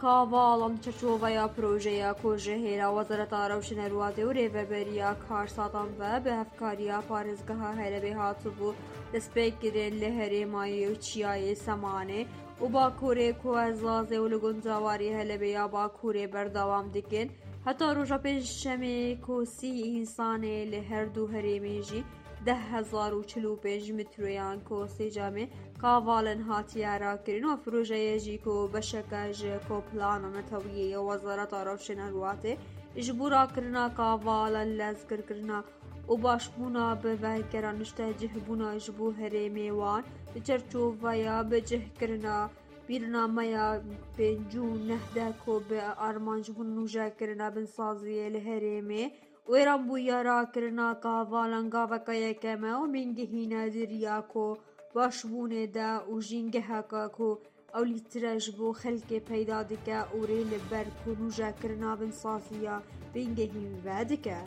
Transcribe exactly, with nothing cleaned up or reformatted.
Kavalan çerçoveya projeya ku ji hêla Wezareta Rewşenerwatê û Rêveberiya Karsatan ve bi hevkariya Parêzgeha Helebê hatibû destpêkirin li herêmayê û çiyayê Semanê û Bakurê ku Ezazê û li guncawarî Helebê ya Bakurê berdewam dikin. Heta roja Pêncşemê ku sî însanê li her du herêmê jî deh hezar û çil û pênc metroyan ku sêcamê kavalin hatiye rakirin û projeyê jî ku beşeke ji ku plana netewiyê ya Wezareta Rewşenerwatê ji bo rakirina kavalan lezgirkirina û başbûna bi vekera niştecihbûna ji bo herêmê wan di çerçoveya bicihkirina bîrnameya pêncî û neh de ku bi armanc bûn nûjekirina binsaziyê li herêmê wêranbûya rakirina kavalan gaveke yekem e û bingehîne di riya ku başbûnê de û jîngeheke ku ewlîtir e ji bo xelkê peyda dike û rê li ber ku nûjekirina binsaziya bingehîn vedike.